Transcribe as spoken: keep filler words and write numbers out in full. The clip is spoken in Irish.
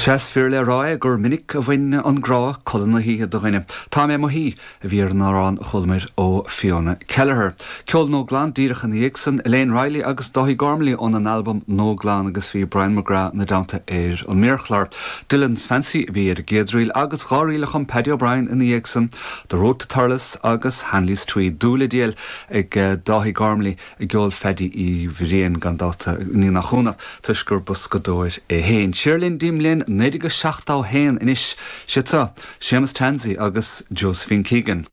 Is fíor le rá é gur minic a bhain an grá codladh na hoíche de dhuine. Tá mé i mo shuí a bhí ar an amhrán a chualamar ó Fiona Kelleher. Ceol nó glan díreach ina dhiaidh san Elaine Riley agus Dáithí Gormley ón an album Nó Glan agus bhí Brian McGrath ina dteannta ar an méarchlár. Dillon's Fancy a bhí ar an gcéad ríl agus dhá ríl a chum Paddy O'Brien ina dhiaidh san, The Road to Thurles agus Hanley's Tweed dúil le díol ag eh, Dáithí Gormley i gceol Phaddy Uí Bhriain gan dabht ní nach ionadh toisc gur boscadóir é féin. Siar linn go dtí an bhliain naoi déag seachtó haon anois sé seo Séamus Tansey agus Josephine Keegan.